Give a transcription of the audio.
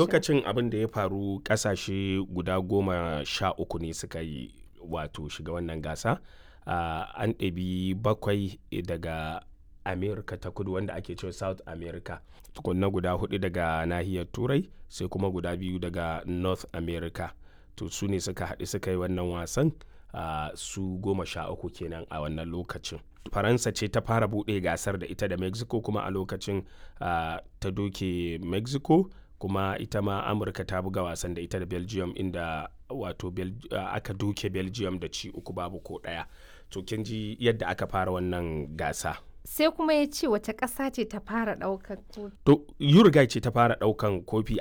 Lokacin abin da ya faru, kasashe guda 13 ne suka yi wato shiga wannan gasa. An ɗebi bakwai daga America ta Kudu, wanda ake cewa South America, tukunna guda hudu daga nahiyar Turai, sai kuma guda biyu daga North America. To, su ne suka haɗu suka yi wannan wasan, su 13 kenan a wannan lokacin. Faransa ce ta fara buɗe gasar da ita da Mexico, kuma a lokacin ta doke Mexico. Kuma ita ma Amurka ta buga wasan da ita da Belgium, inda wato aka doke Belgium da ci 3 babu ko 1. To, kin ji yadda aka fara wannan gasa. Sai kuma ya ce, wace ƙasa ce ta fara ɗaukar kofi? To, Uruguay ce ta fara ɗaukan kofi a